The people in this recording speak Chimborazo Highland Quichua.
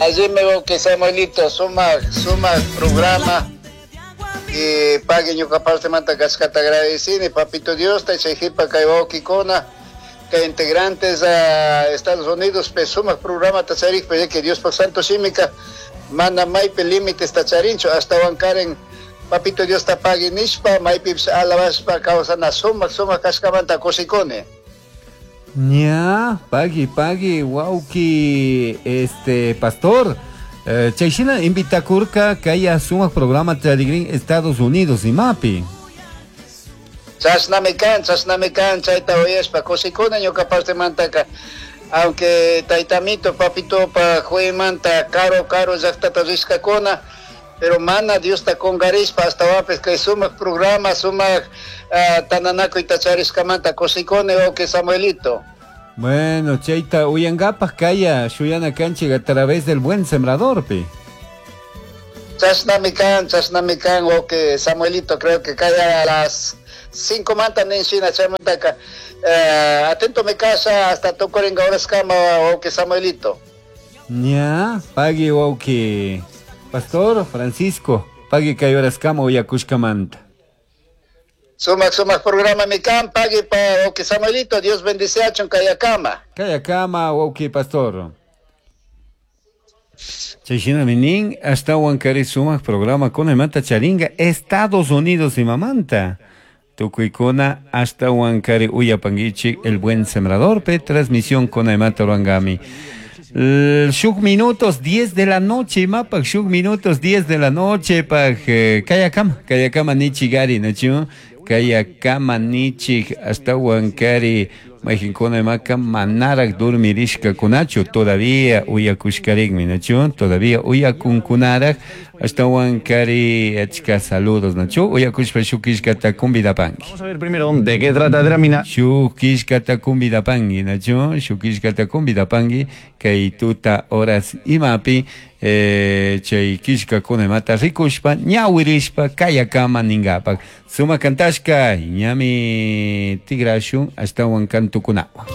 Allimi wawki Samuelito, sumak sumak programa y pagui ñuka partemanta kashkata agradecini papito Diosta chay jipa kay wawkikuna kay integrantes a Estados Unidos pe sumak programata charikpa ya que Diospak santo shimika mana maypi límitesta charinchu ashtawankaren papito Diosta pagui nishpa maypipish alabashpa kawsana sumak sumak kashkamanta kushikuni. Ña, pagui, pagui, wawki, este, pastor. Chayshina invitakurka kaya sumak programa charigrin Estados Unidos imapi. Chashnami kan, chashnami kan, chayta uyashpa kushikuni ñuka partemantaka. Aunque taytamito, papitopa jueymanta karu karu llaktata rishkakuna, pero mana Diosta kungarishpa ashtawanpish kay sumak programa, sumak tananakuyta charishkamanta kushikuni wawki Samuelito. Bueno, chayta uyankapak kaya shuyana kanchik a través del Buen Sembradorpi. Chashnami kan wawki Samuelito, creo que kaya a las 5 manta nin shina chaymantaka atento mi kasha hasta tukurinka horaskama wawki Samuelito. Ña, pagui wawki Pastor Francisco, pagui kay horaskama uyakushkamanta. Sumak sumak programa mi kan, pagui pa wawki Samuelito, Dios bendiciachun kayakama. Kayakama wawki Pastor. Chayshinami nin, ashtawan kari sumak programa kunamanta charinga Estados Unidos imamanta. Tukuykuna ashtawan kari uyapanguichik El Buen Sembrador pe transmisión kunamanta ruangami. Shuk minutos 10 de la noche, mapak shuk minutos 10 de la noche, pak kayakama, kayakama nichigari, nachu, kayakama nichik ashtawan kari mayqinkuna imaka manaraq dormirishkakunachu todavía uyakushkarikmi, nachu, todavía uyakunkunaraq ashtawan kari achka saludos, nachu, uyakushpa shuk killkata convidapanki. Vamos a ver primero de qué trata Dramina. Shuk killkata convidapanki, nachu, shuk killkata convidapanki, kay tuta horas imapi, chay killkakuna imata rikushpa, ñawirishpa, kayakama ningapak. Suma kantashka, ñami tigrashun ashtawan kantukunawan.